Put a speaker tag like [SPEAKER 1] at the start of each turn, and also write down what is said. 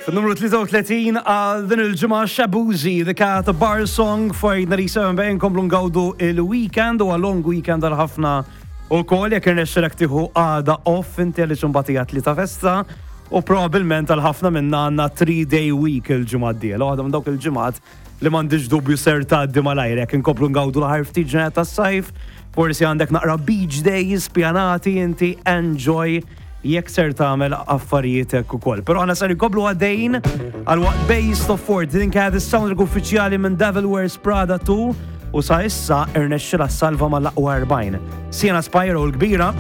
[SPEAKER 1] Fin-numru 33 għal din il-ġimgħa Shabuzi, The Cat Bar Song for 97 bejn komplu ngawdu il-weekend u long weekend għal ħafna u kol jekk irnexxilek tieħu għada off inti għaliex imbagħad hija tlieta festa u probabbilment għal ħafna minna għandna 3 day week il-ġimgħa d-dieħla. Waħda minn dawk il-ġimgħat li m'għandix dubju ser tgħaddi malajr jekk inkomplu ngawdu l-aħħar ftit ġranet tas-sajf, forsi għandek naqra beach days pjanati inti enjoy jekk ser tagħmel affarijiet hekk ukoll. Però aħna ser inkomplu għaddejjin għal waqt Base of Fort din kienet is-soundtrack uffiċjali minn Devil Wears Prada 2 u sa issa irnexxilha salva mal-aqwa 40. Sienna Spyro l-kbira.